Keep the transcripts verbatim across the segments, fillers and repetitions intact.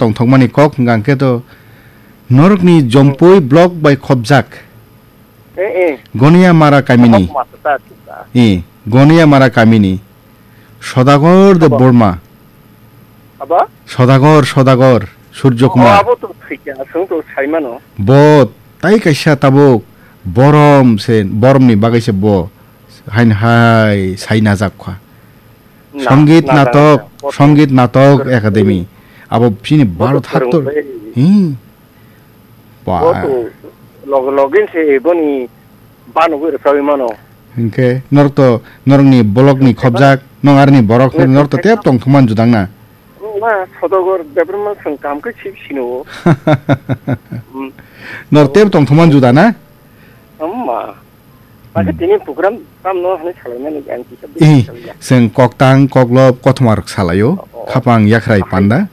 tongthokmani kok hwnkha hwnkhe to norokni Jompui block bai khopjak Eh, eh. Goniya Mara kamini. Hok masa ta, ta. Eh, Goniya Mara kamini. Sodagar de Abo. Borma. Abo? Sodagar, Sodagar, Surjo Oh, Kumar. Abo to thikya, aswng to saimano. Bo tai kaisa tabuk borom se, boromni bagwi se bo hain hai sai najak kha. Na, Songit na, na, natok, na, na. Songit natok Kor-, Academy. Abo chini Bo to Bharat haktor. Kwrwng bai. Hmm. Ba. Bo to log-, login se boni banogwi rwchagwi mano. Hinkhe norok to norokni block ni Hinkhe khobjak, nong arni borok Hinkhe norok to tep tong thumani judang na. Ma Sodogor Debbarma song kam khe sip sino. Hmm. Norok tep tong thumani juda na? Amma. Bakhe Hmm. tini program tamno hwnwi salaimani ang kisa Eh, bisi salya. Chwng koktang, koklop, kothoma rok salaio. Oh, oh. Khapang yakrai Aphai. Panda.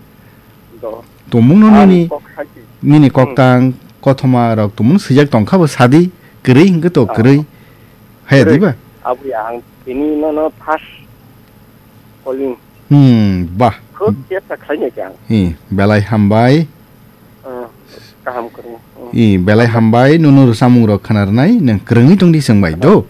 Do. Tumungno Ang nini, kok sachi. Nini Hmm. koktang, kothoma rok tumung swijak tongkha bo sadi, kwrwi hwnkhe to Oh. kwrwi. Haya Kwrwi. Diba? Abwi ang tini nono first calling. Hmm, bah. Khub chesta khlainai khe ang. Eh, belai hambai. Hmm, kaham kwrwi. Hmm. Eh, belai hambai, nunu rwchapmung rok khna rwnai, nwng kwrwngwi tongdi chwng bai, do?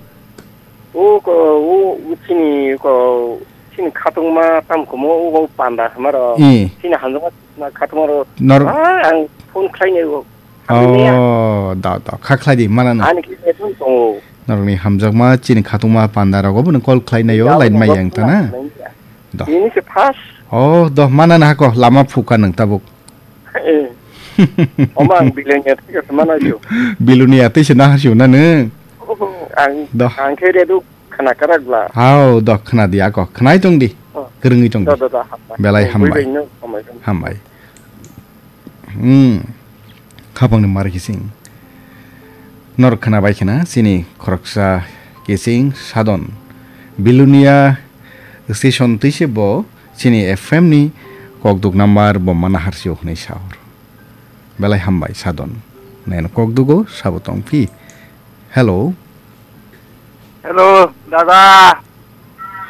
O ko, o, o chini ko, chini khatungma tamkumo, o, o panda hamaro. Eh. Chini hamjakma na khatungma ro. Nor- Ah, ang phone khlainai o. Oh, da, da, kha khlai di, mana no. Ani khe phone tongo. Norokni hamjakma, chini khatungma panda rogo bono call khlainai o, Jabo line mai no yang ta na. Khlainai ya. Do. Ini se first. Oh, do, mana na hako, lama phuka nang tabuk. Eh. Oma ang Bilonia thik ase mana jo. Bilonia tei se na hasio na nung. Ang, Do. Ang khe redu khana karak bla. Hao, do, khna di ako, khnai tong di. Oh. Kwrwngwi tong di. Do, do, do, hambai. Belai Oh, hambai. Buibai no, hambai. Hambai. Hmm. Khapangni mar kising. Nor khna bai khna, chini khoroksa kising sadon. Bilonia station twi se bo, chini F M ni kokduk number bo mana harsio hwnwi sa hor. Belai hambai sadon. Neno kokdugo sabo tong phi. Hello. Hello, dada.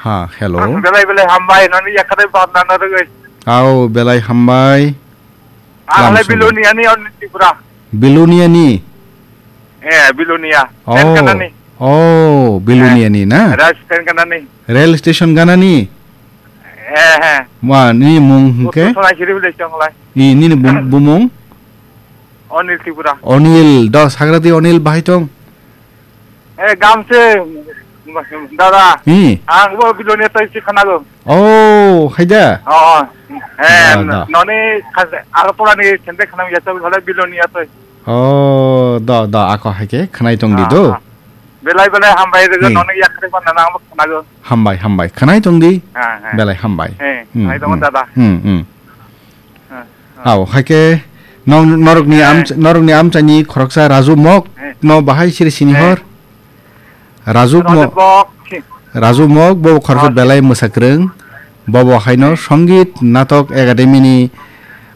Ha, hello. Ang belai belai hambai, noni yakare bab nana rwgwi. Au, belai hambai. Ang Lam halai subai. Bilonia ni, on Tripura. Bilonia ni? Eh, Bilonia. Oh. Train kanani? Oh, Bilonia ni na? Eh, rail train kanani? Rail station ganani? Eh, eh. Ma, nini mung hwnkhe? Utu Sonakhiri village tong lai. Ni, nini bum-, bumung? Onil Tripura. Onil, do, sagrati Onil bahai tong? Eh, gamse, dada. Hi. Ang bo Bilonia tai si khanago. Oh, haida. Oh, oh. Eh, Da, da. Noni khas-, Agartala ni sende khanam yachal bhale Bilonia tai. Oh, da, da, ako haike khanai tong di Ah, do. Ah. Belai belai hambai rego Hi. Noni yakhre pa nana ang bo khanago. Hambai, hambai. Khanai tong di. Ah, ah. Belai hambai. Eh, Hmm, hai tong hmm. Dada. Hmm, hmm. Ah, ah. Hao, haike nong norokni Eh. am-, norokni amchaini khoroksa Raju Mok Eh. No bahai siri sini Eh. Hor. Raju Raju Mok, Mok, si- Raju Mok bo khoroksa Oh, si- belai mwsakrwng. Bobo haino Eh. Songit Natok Academy ni,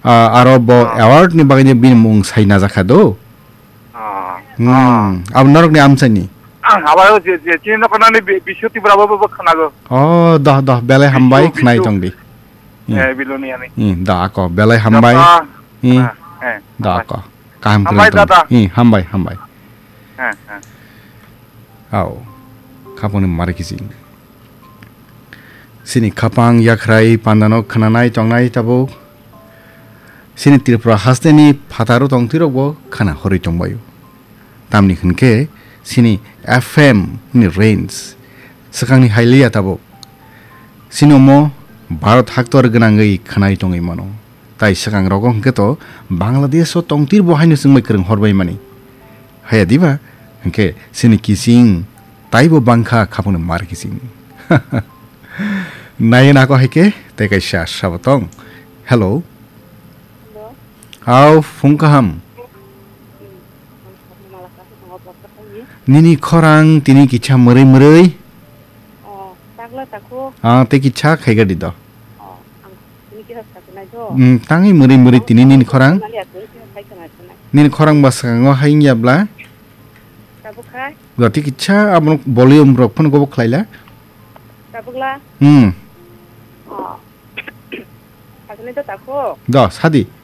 ah, aro bo Oh. Award ni bagwi bini mung sai najakha do. Ah, Hmm, ah. Abo norokni amchaini? Ang abo je, je, chini noknani bi-, bisu Tripura bo, bo, bo khwnago. Oh, doh, doh, belai hambai, Bisu, khwnai bisu. Tongdi. Hmm. Eh, Biloniani. Hmm, da ako, belai hambai. Japa. Hmm. Ah, eh, Da hambai. Ako. Kaham Hambai, khwnai tong. Dada. Hmm, hambai, hambai. Eh, eh. Ao. Khapangni mari kising. Sini khapang yakhrai pandano khwnanai tongnai tabuk. Sini Tripura hasteni phataro tongtwirokbo khana horwi tongbaio. Tamni hwnkhe sini F M ni range swkangni hailiya tabuk. Sini omo Bharat haktor gwnangwi khwnai tongwi mano. Tai swkang rogo hwnkhe to Bangladesh o tongtir bo haino chwngbai kwrwng horbai mani. Haya diba? Hwnkhe sini kising taibo bangkha khapungni mar kising. Nai nako hai khe tei kaisa sabo tong. Hello. Hello. Hao, phung kaham. Hmm. Nini khorang tini kicha mwrwi mwrwi. Oh, takla takho. Ah, tei kicha khai gadi do. Oh, ang tini kisa sakunai do. Hmm, tangwi mwrwi mwrwi tini nini khorang. Nali aku kisa khai khna khna. Nini khorang ba swkango hai wngya bla? Tabuk khai? Jati kicha abono volume rok phano gobo khlaila. Tabukla? Hmm. Oh. Sakunai do takho. Do, sadi.